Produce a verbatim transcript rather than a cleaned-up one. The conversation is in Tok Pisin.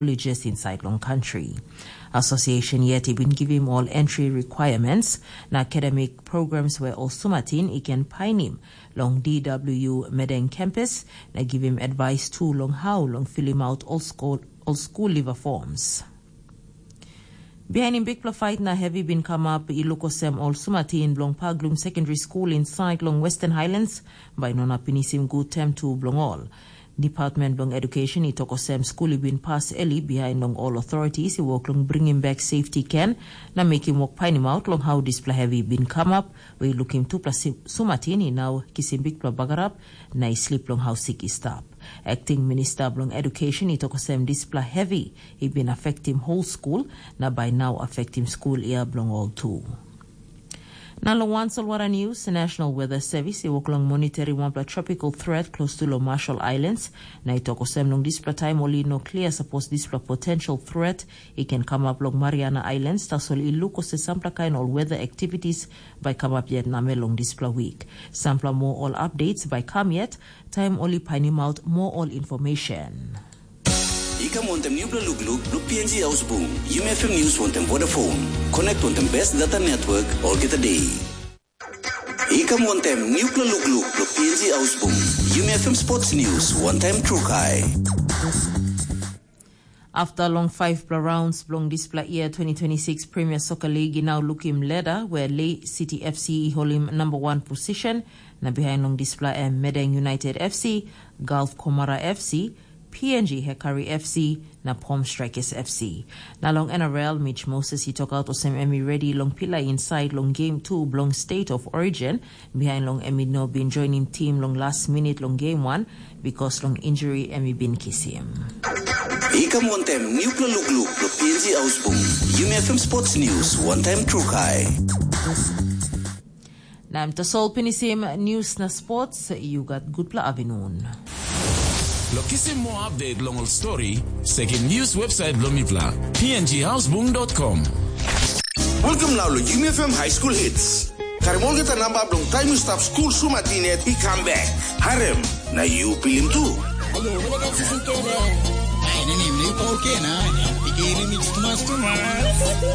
colleges inside long country. Association yet i bin givim ol entry requirements na academic programs where ol sumatin i can painim long D W Medeng campus na givim advice tu long how long filim out ol school, ol school leaver forms. Bihainim bikpela fait na hevi bin kamap i luk olsem ol sumatin bilong Paglum Secondary School insait long Western Highlands bai no na pinisim gut tem tu bilong ol. Department bilong Education i tok olsem skul i bin pas eli bihain long ol authorities i wok long bringim bek safety ken na mekim wok painimaut long hau dispela hevi i bin kamap, we i lukim tupela sumatin i nau kisim bikpela bagarap na i slip long hau sik i stap. Acting Minister bilong Education i tok olsem dispela hevi i bin afektim whole school na bai nau afektim skul ia bilong ol tu. Na long wan solwara news, National Weather Service i wok long monitoring wanpela tropical threat close to long Marshall Islands, na i tok olsem long dispela taim ol i no klia sapos dispela potential threat i ken kamap long Mariana Islands, tasol i luk olsem sampela kain ol weather activities bai kamap yet namel long dispela wik. Sampela moa ol updates bai kam yet, taim ol i painimaut moa ol information. I kam wantem nupela lukluk bilong P N G Ausbung. Yumi F M News wantem Vodafone. Connect wantem best data network olgeta day. I kam wantem nupela lukluk bilong P N G Ausbung. Yumi F M Sports News wantem Trukai. Afta long faivpela rounds bilong dispela year twenty twenty-six Premier Soccer League i nau lukim leda where Lei City F C i holim namba wan posishen, na bihain long dispela em Medeng United F C, Gulf Komara F C, P N G Hekari F C, na Pom Strikers F C. Na long N R L, Mitch Moses i tokaut olsem em i redi long pilai insait long game two bilong State of Origin, bihain long em i no bin joinim tim long last minute long game one, bikos long injury em i bin kisim. I kam wantem nupela lukluk bilong P N G Ausbung. Yumi F M Sports News wantem Trukai. Na em tasol pinisim news na sports, you got gutpela avinun. Lo kisim moa update long ol story, sekim news website bilong mipela, P N G Ausbung dot com. Welcome now lo Yumi F M High School Hits. Karim olgeta namba bilong taim yu stap skul sumatin yet i kam bek. Harem, na yu pilim tu. Ayo, wala ka sisi kele. Ai, nini, ni pau kena. Iki remix tumas tumas.